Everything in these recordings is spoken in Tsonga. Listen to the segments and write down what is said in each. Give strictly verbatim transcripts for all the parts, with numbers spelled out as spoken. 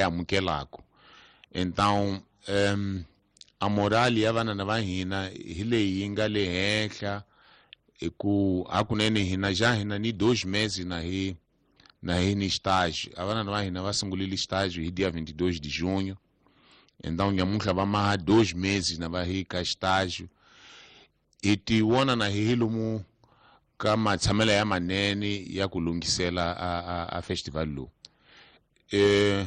amukelaka. Então um, a morali ya vanana va hina hi leyi yi nga le henhla hi ku hakunene hina ja hina ni dois meses na hi na hi ni estágio. A vanana va hina va sungurile estágio hi dia vinte e dois de junho. Então nyamuntlha va maha dois meses na va hi ka estágio. Hi ti vona na hi lomu ka matshamelo ya manene ya ku lunghisela a, a, a festival lowu. Eh,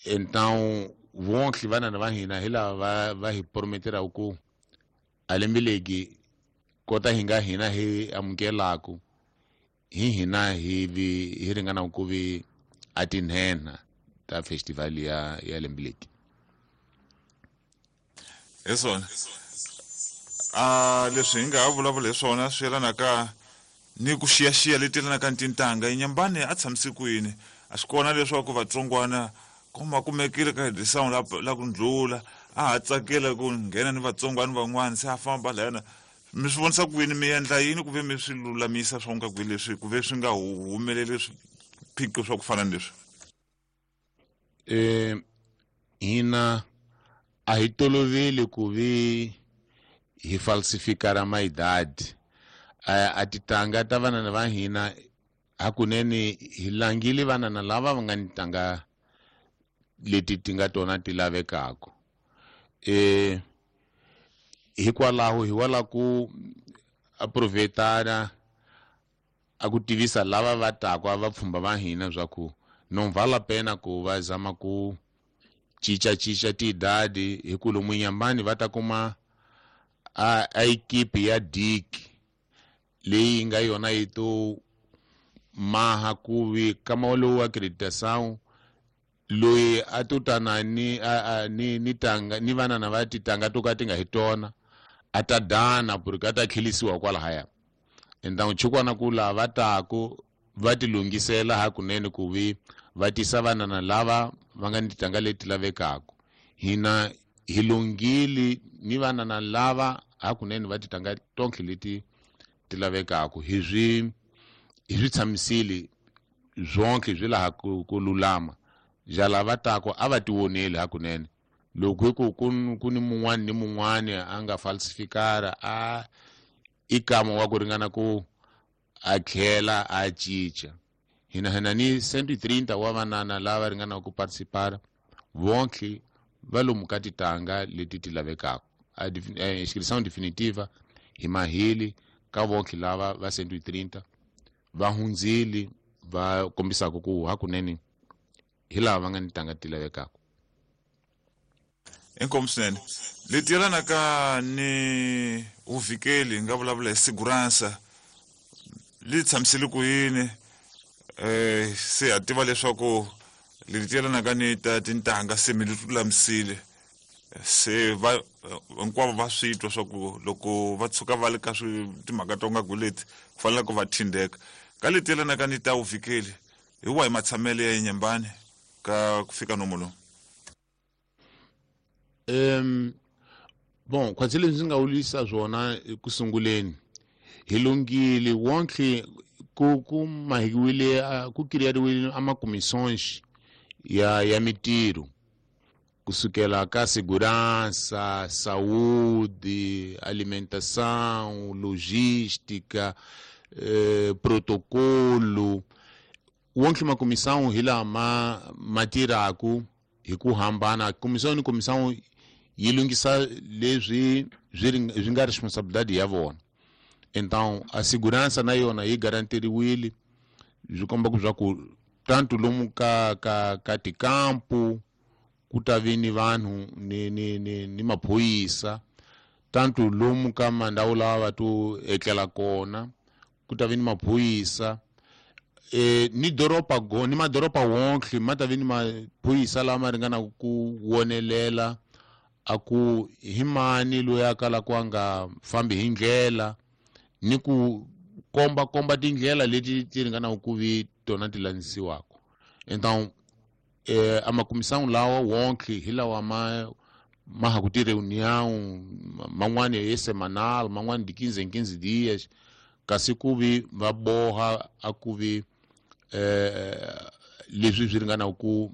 então vonke vanana va hina hi lava va, va hi prometeraku ku a lembe legi kota hi nga hina hi amukelaku hi hina hi vi hi ringana ku vi a tinhenha ta festival ya ya lembe legi. Hi swona a leswi hi nga ha vulavula hi swona swi yelanaka ni ku xiyaxiya leti yelanaka ni tintangha. Inhambane a tshamise kwini a swi kona leswaku vatsongwana kuma kumekile ka edição la la ku ndlula a ha tsakela ku nghena ni vatsongwana van'wana se a famba lahayana. Mi swi vonisa ku yini, mi endla yini ku ve mi swi lulamisa swa nga ku leswi ku ve swi nga humeleli swiphiqo swa ku fana ni leswi? Eh, hina a hi toloveli ku vi hi falsifikara maidadi. A, a titanga ta vanana va hina hakunene hi langile vanana lava va nga ni tanga leti ti nga tona ti lavekaka. Eh, hikwalaho hi wala ku aproveitara a ku tivisa lava va taka va pfhumba va hina swa ku não vale a pena ku va zama ku cincacinca tiidadi hi ku lomu Inhambane va ta kuma a, a equipe ya D I C leyi nga yona yi to maha ku vi kama lowu acreditação loyi a to tana ni, a, a, ni, ni tanga ni vanana va titanga to ka ti nga hi tona a ta dana porque a ta tlhelisiwa kwalahaya. Então chukwana ku lava taku va ti lunghisela hakunene ku vi va tisa vanana lava va nga ni titanga leti lavekaka. Hina hi lunghile ni vanana lava hakunene va titanga tonke leti ti lavekaka. Hi swi hi swi tshamisile zonke swi laha ku, ku lulama. Ja lava tako a va ti voneli hakunene. Loko hi ku ku ku ni mun'wani ni mun'wani a nga falsifikara a i kama wa ku ringana ku a tlhela a cinca. Hina hina ni cento e trinta wa vanana lava ringanaka ku participar vonke va lomu ka titanga leti ti lavekaka. A inscrição definitiva hi maheli ka vonke lava va cento e trinta va hundzile va kombisaka ku hakunene hi lava va nga ni tanga ti lavekaka. Inkomu swinene. Leti yelanaka ni vuvikeli hi nga vulavula hi segurança li tshamisile ku yini? Eh, se ha tiva leswaku leti yelanaka ni ta tintangha se mi lulamisile se va hinkwavo va swi twa swa ku loko va tshuka va le ka swi timhaka to nga ku leti ku fanele ku va thindeka. Ka leti yelanaka ni ta vuvikeli hi wahi matshamelo ya Inhambane ka ku fika nomo lowu? Um, bon, khwatsi leswi ndzi nga wulisa swona eku sunguleni hi lunghile wonke ku ku mahiwile ku kiriyariwile a makomissões ya ya mitirho kusukela ka segurança, saúde, alimentação, logística, eh, protocolo. Wonke makomissão hi laha ma ma tirhaku hi ku hambana. Comissão ni comissão yi lunghisa leswi swi swi nga responsabilidade ya vona. Então a segurança na yona yi garantiriwile, swi komba ku swa ku tanto lomu ka ka ka tikampu ku ta vi ni vanhu ni ni ni ni maphorisa, tanto lomu ka mandhawu lawa va to etlela kona ku ta vi ni maphorisa. Eh, ni doroba go ni madoroba wonke ma ta vi ni maphorisa lama ringanaka ku wonelela a ku hi mani loyi a kalaka a nga fambi hi ndlela ni ku komba komba tindlela leti ti ringanaka ku vi tona ti landzisiwaka. Então eh, a makomissão lawa wonke hi lawa ma ma ha ku ti reunião man'wani ye semanal man'wani de quinze em quinze dias kasi ku vi va boha a ku vi eh, leswi swi ringanaka ku